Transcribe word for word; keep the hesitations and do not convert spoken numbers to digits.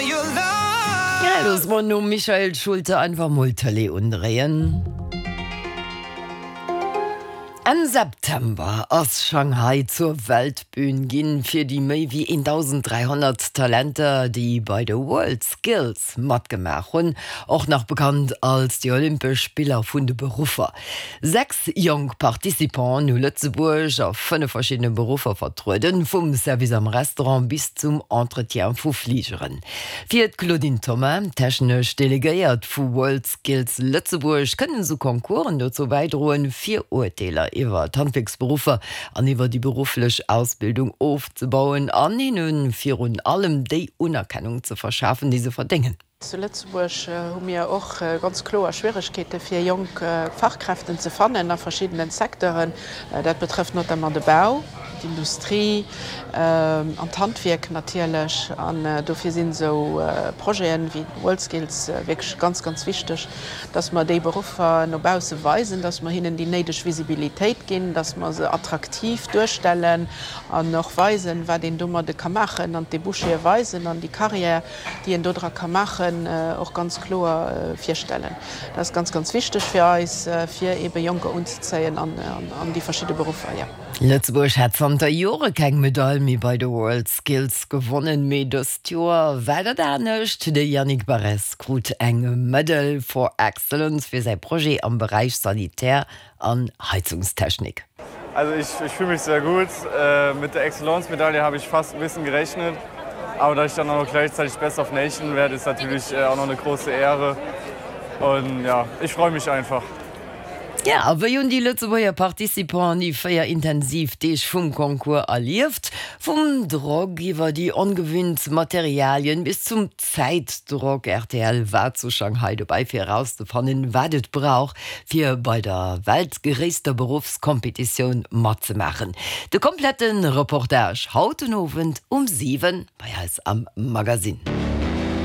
Ja, loosse mer nom Michael Schulte einfach mol d'Tëlee undréien. Enn September ass Shanghai zur Weltbün ginn fir déi méi wéi eentausend dräihonnert Talenter, déi bei de World Skills matgemaach hunn, och nach bekannt als déi Olympesch Spiller vun de Beruffer. Sechs jonk Participanten hu Lëtzebuerg a fënnef verschiddene Beruffer vertrueden, vum Service am Restaurant bis zum Entretien vu Fligeren. Fir d'Claudine Thoma, technesch Delegéiert vu World Skills Lëtzebuerg, kënnen esou Concoursen dozou bäidroen, Virurteeler iwwer d'Handwierksberuffer an iwwer déi berufflech Ausbildung ofzebauen an hinne virun allem déi Unerkennung ze verschafen, déi se verdéngen. Zu Lëtzebuerg hu mir och ganz kloer Schwieregkeete fir jonk Fachkräften ze fannen a verschiddenen Secteuren. Dat betrëfft notamment de Bau, d'Industrie an d'Handwierk natierlech. An dofir sinn esou Projeten wéi WorldSkills wierklech ganz, ganz wichteg, dass mer déi Beruffer no bausse weisen, dass mer hinnen déi néideg Visibilitéit ginn, dass mer se attraktiv duerstellen an och weisen, wat een domadde ka maachen an d'Débouchéë weisen an déi Carrière, déi een dodra ka maachen, och ganz kloer virstellen. Dat ass ganz, ganz wichteg fir eis, fir eebe Jonker unzezéien an déi verschidde Beruffer, jo. Lëtzebuerg hat zanter Jore keng Medail méi bei de World Skills gewonnen, mee dëst Joer war dat anescht. De Yannick Barrez krut eng Medal for Excellence fir säi Projet am Beräich Sanitär an Heizungstechnik. Also ich, ich fühle mich sehr gut. Äh, mit der Excellence-Medaille habe ich fast ein bisschen gerechnet. Aber dass ich dann auch noch gleichzeitig Best of Nation werde, ist natürlich äh, auch noch eine große Ehre. Und ja, ich freue mich einfach. Ja, a wéi hunn déi Lëtzebuerger Participanten déi véier intensiv Deeg vum Concours erlieft? Vum Drock iwwer déi ongewinnt Materialien bis zum Zäitdrock, R T L war zu Shanghai dobäi fir erauszefannen, wat et brauch, fir bei der weltgréisster Beruffskompetitioun matzemaachen. De komplette Reportage haut den Owend um siwen bei eis am Magazine.